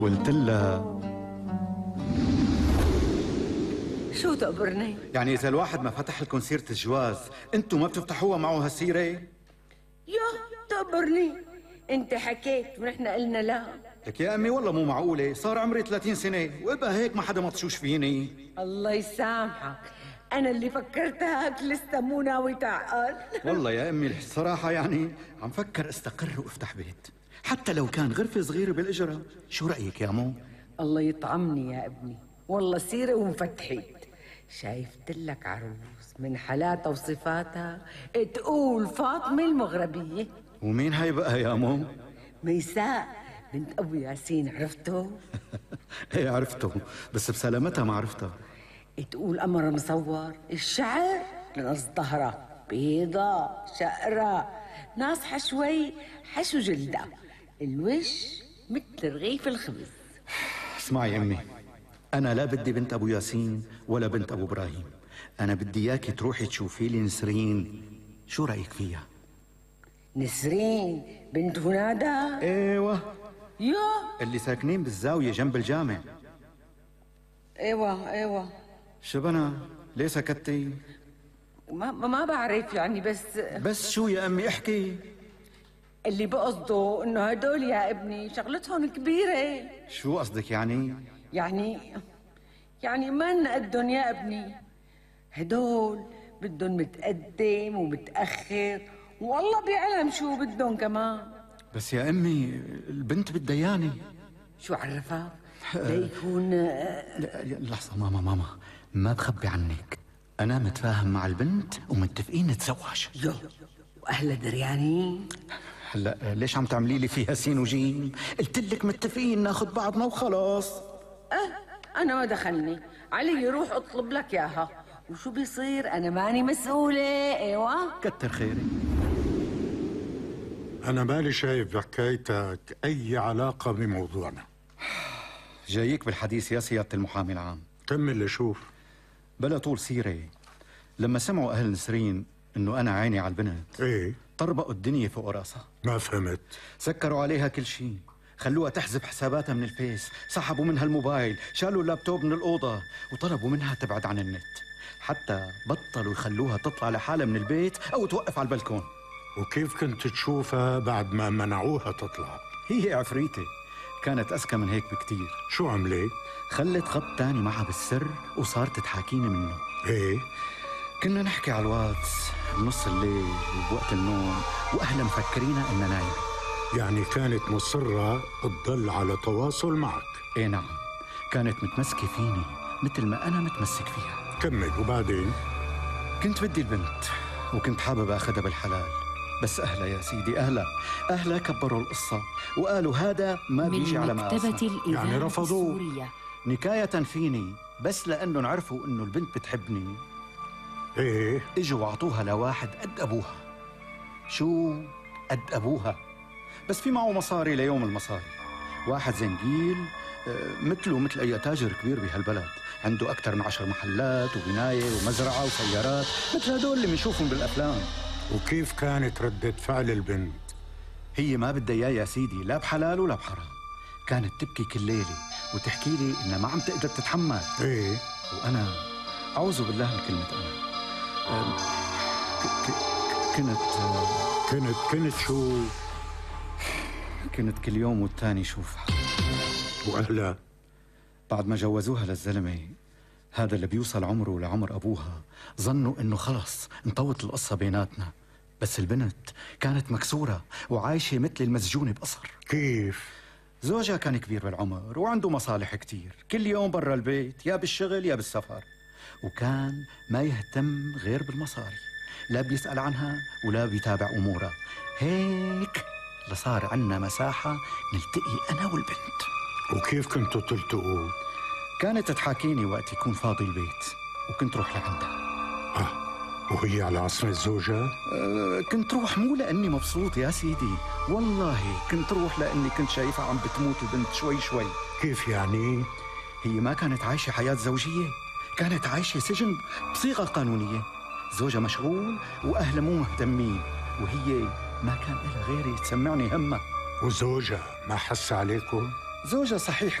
قلت لها شو تقبرني؟ يعني إذا الواحد ما فتح لكم سيرة الجواز أنتوا ما بتفتحوها معه هالسيرة؟ يا تقبرني، انت حكيت ونحن قلنا لا. لك يا أمي والله مو معقولة، صار عمري 30 سنة وإبقى هيك ما حدا مطشوش فيني. الله يسامحك، أنا اللي فكرتها هيك لسه مو ناوي تعقل. والله يا أمي الصراحة يعني عم فكر استقر وافتح بيت، حتى لو كان غرفة صغيرة بالإجرة. شو رأيك يا مو؟ الله يطعمني يا ابني، والله سيرة وانفتحت. شايفت لك عروس من حالاتها وصفاتها تقول فاطمة المغربية. ومين هاي بقى يا مو؟ ميساء بنت أبو ياسين، عرفته؟ ايه عرفته، بس بسلامتها ما عرفتها. تقول قمر مصور، الشعر نص ظهرها بيضة شقرة ناصحة شوي حشو جلدها، الوش مثل رغيف الخبز. اسمعي أمي، أنا لا بدي بنت أبو ياسين ولا بنت أبو إبراهيم، أنا بدي إياكي تروحي تشوفي لي نسرين. شو رأيك فيها؟ نسرين بنت هنادا؟ ايوه، يا اللي ساكنين بالزاوية جنب الجامع. ايوه شبنا ليه سكتي؟ ما بعرف يعني، بس شو يا أمي احكي. اللي بقصده انه هدول يا ابني شغلتهم كبيرة. شو قصدك يعني؟ يعني ما نقدن يا ابني، هدول بدهم متقدم ومتأخر، والله بيعلم شو بدهم كمان. بس يا أمي البنت بالديانة. شو عرفك؟ ليكون لحظة ماما ما بخبي عنك، أنا متفاهم مع البنت ومتفقين نتزوج. يو وأهلها دريانين؟ هلا ليش عم تعملي لي فيها سين وجيم؟ قلت لك متفقين ناخذ بعضنا وخلاص. أنا ما دخلني، علي روح اطلب لك ياها، وشو بيصير أنا ماني مسؤولة. ايوه كتر خيري. أنا مالي شايف بحكايتك أي علاقة بموضوعنا. جايك بالحديث يا سيادة المحامي العام. كمل لشوف. بلا طول سيرة، لما سمعوا أهل نسرين إنه أنا عيني على البنت إيه؟ طربقوا الدنيا فوق راسها. ما فهمت. سكروا عليها كل شيء، خلوها تحذف حساباتها من الفيس، سحبوا منها الموبايل، شالوا اللابتوب من الأوضة وطلبوا منها تبعد عن النت، حتى بطلوا يخلوها تطلع لحالها من البيت أو توقف على البلكون. وكيف كنت تشوفها بعد ما منعوها تطلع؟ هي عفريتة، كانت أذكى من هيك بكتير. شو عملت؟ خلت خط تاني معها بالسر وصارت تحاكيني منه. ايه؟ كنا نحكي على الواتس بنص الليل وبوقت النوم وأهلها مفكرينا إننا نايم. يعني كانت مصرة تضل على تواصل معك؟ ايه نعم، كانت متمسكة فيني مثل ما أنا متمسك فيها. كمل. وبعدين؟ كنت بدي البنت وكنت حابب أخذها بالحلال، بس أهلها يا سيدي أهلها كبروا القصة وقالوا هذا ما بيجي على مقاسنا. يعني رفضوا نكاية فيني، بس لأنهم عرفوا إنه البنت بتحبني. ايه؟ اجوا وعطوها لواحد قد أبوها. شو قد أبوها؟ بس في معه مصاري ليوم المصاري، واحد زنجيل مثله مثل أي تاجر كبير بهالبلد، عنده أكثر من 10 محلات وبناية ومزرعة وسيارات مثل هدول اللي بنشوفهم بالأفلام. وكيف كانت ردة فعل البنت؟ هي ما بدها إياه يا سيدي، لا بحلال ولا بحرام. كانت تبكي كل ليلة وتحكي لي إنها ما عم تقدر تتحمل. ايه؟ وأنا أعوذ بالله من كلمة أنا كنت شو؟ كنت كل يوم والتاني شوفها. وأهلها؟ بعد ما جوزوها للزلمة هذا اللي بيوصل عمره لعمر أبوها، ظنوا إنه خلص انطوت القصة بيناتنا، بس البنت كانت مكسورة وعايشة مثل المسجونة بقصر. كيف؟ زوجها كان كبير بالعمر وعنده مصالح كتير، كل يوم برا البيت يا بالشغل يا بالسفر، وكان ما يهتم غير بالمصاري، لا بيسأل عنها ولا بيتابع أمورها. هيك لصار عنا مساحة نلتقي أنا والبنت. وكيف كنتوا تلتقوا؟ كانت تحاكيني وقت يكون فاضي البيت وكنت روح لعندها. وهي على عصمة الزوجة؟ كنت روح مو لأني مبسوط يا سيدي، والله كنت روح لأني كنت شايفها عم بتموت البنت شوي شوي. كيف يعني؟ هي ما كانت عايشة حياة زوجية، كانت عايشة سجن بصيغة قانونية. زوجها مشغول وأهلها مو مهتمين، وهي ما كان لها غيري تسمعني همها. وزوجها ما حس عليكم؟ زوجها صحيح